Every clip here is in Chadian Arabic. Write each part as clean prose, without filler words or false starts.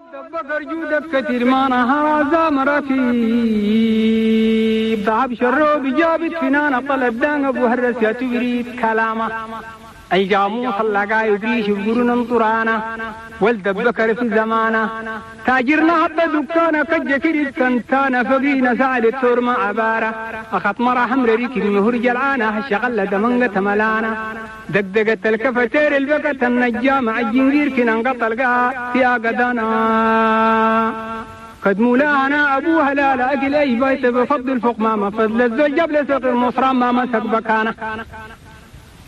بكر جودك كثير ما نهار زامر في ضعب شروب جابت فنانة طلب دان ابو هرس يا تبريد كلامه اي جاموس اللقا يدريش بقرن طرانا ولد بكر في زمانه تاجرنا حتى دكانه كجكري كنتانا فقينا سعد التور مع عبارة أخط مرة حمر ريك مهر جلعانة الشغلة دمنقة ملانا دقدقت الكفتير البكت النجام الجنجير كنا انقطع القاء يا قدانا قد مولانا أبوها لا لا أقل أي بيت بفضل فوق ما فضل الزوج جبل سوق المصرى ما مسك بكانا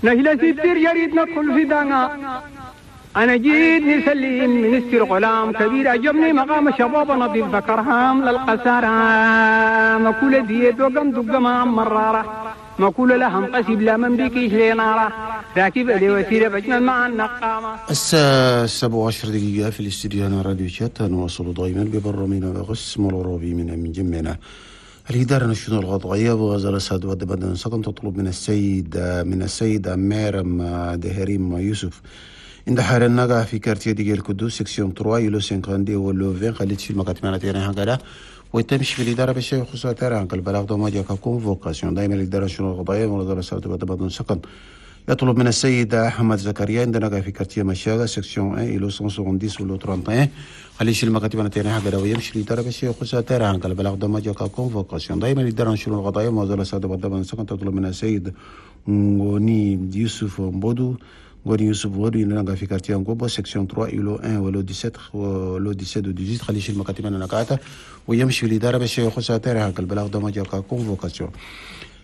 نهلا ستير جريد ندخل في دانا أنا جيت نسلم من استر غلام كبير عجبني مقام شباب نظيف ذكرهام للقسارة مكولة ديت وقم دق ما مرارة مكولة لهم قسيب لا من بيكيش لنارة راكب لي وسيلة بجمل مع النقامة. الساعة 7:10 في الاستديو هنا راديو شات. نواصل دائما ببرنامجنا بقسم العربي من جمعنا الإدارة الشؤون القضائية ووزارة السعد والدبدن سكن تطلب من السيد ميرم دهريم يوسف عند حال النجا في quartier ديال القدوس section 3 îlot 52 ولا 20 خليت في المكاتب تاعنا هكذا ويتمشي في الإدارة باش يخصها تاع البلاغ دوما جاك convocation. دائما الإدارة الشؤون القضائية ووزارة السعد والدبدن سكن يطلب من السيد أحمد زكريا عندنا في quartier مشاغة section 1 îlot 170 ولا 31 خليش المكاتب تاعنا هكذا ويمشي الإدارة باش يخصها تاع البلاغ دوما جاك convocation. دائما الإدارة الشؤون القضائية ووزارة السعد والدبدن سكن تطلب من السيد غوني يوسف مبودو غوني يوسف غوني عندنا في quartier نقوبو section 3 îlot 1 ولا 17 ولا 17 و 18 خليش المكاتب نكاتا ويمشي الإدارة باش يخصها تاع البلاغ دوما جاك convocation.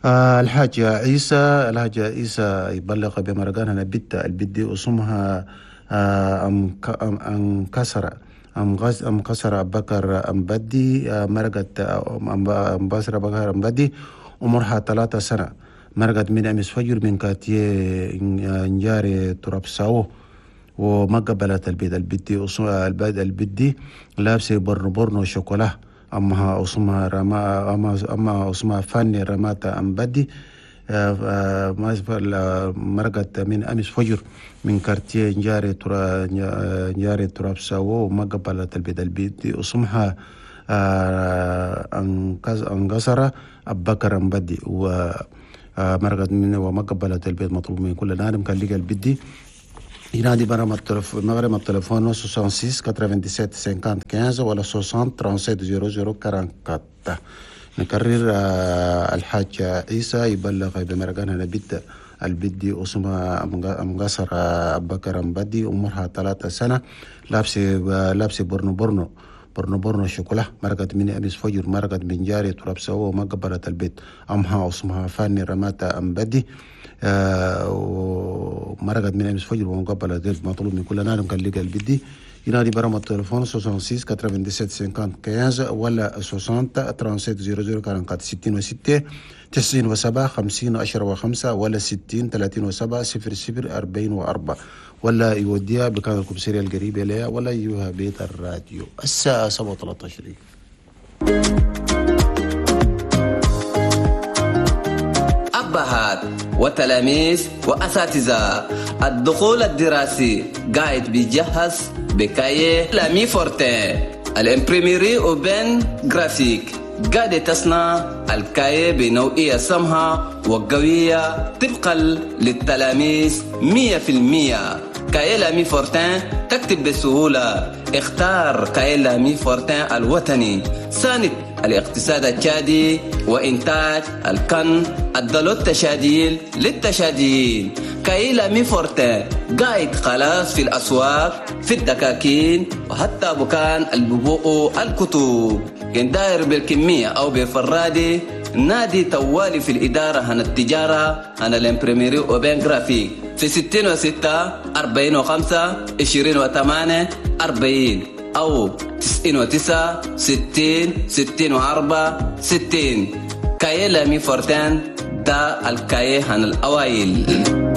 الحاج عيسى يبلغ بمرقان هنا بيت البدي اسمها أم كسر أم غز أم كسر بكر أم بدي مرقت أم بصر بكر أم بدي عمرها 3 سنة مرقت من أمس فجر من quartier نجاري ترابساو وما قبلت البيت البدي البدي لابسه برنو شوكولا أمها أسمها رما أما أسمها فاني رماتا أم بدي مرقت من أمس فجر من quartier نجاري ترابساو وما قبلت البيت البدي اسمها أنقصر أبكر أم بدي ومرقت من وما قبلت البيت. مطلوب من كل نادم كان لقى البدي ينادي برا التليفون التليفون 66 97 50 15 ولا 60 37 00 44. نكرر الحاج عيسى يبلغ بمرقان هنا بيت البدي اسمها أم قصر أبكر أم بدي عمرها 3 سنة لابسة برنو برنو شوكولا مرقت من أمس فجر مرقت من جاري تراب سوا وما قبلت البيت. أمها اسمها فاني رماتا أم بدي ومرقت من أمس فجر وما قبلت البيت. مطلوب من كل نادم كان لقى البدي ينادي برا التليفون 66 97 50 15 ولا 60 37 00 44 66 97 50 10 و5 ولا 60 37 00 44 ولا يوديها بكان الكومسيريا القريبة لها ولا يجيبها بيت الراديو. الساعة 7:13. أبهات وتلاميذ وأساتذة، الدخول الدراسي قاعد بيجهز ب cahier L'Ami Fortin ال imprimerie Aubaine Graphique قاعدة تصنع ال cahier بنوعية سمحة وقوية طبقا للتلاميذ 100%. cahier L'Ami Fortin تكتب بسهولة. اختار cahier L'Ami Fortin الوطني، ساند الاقتصاد التشادي وإنتاج الكن الدلو التشاديل للتشاديين. cahier L'Ami Fortin قاعد خلاص في الأسواق، في الدكاكين، وحتى بكان الببوء الكتب. كان داير بالكمية أو بفرادي نادي توالي في الإدارة هنا التجارة هنا ال imprimerie Aubaine Graphique في 66 45 28 40 أو 99 60 64 60. cahier L'Ami Fortin دا ال cahier هن الأوائل.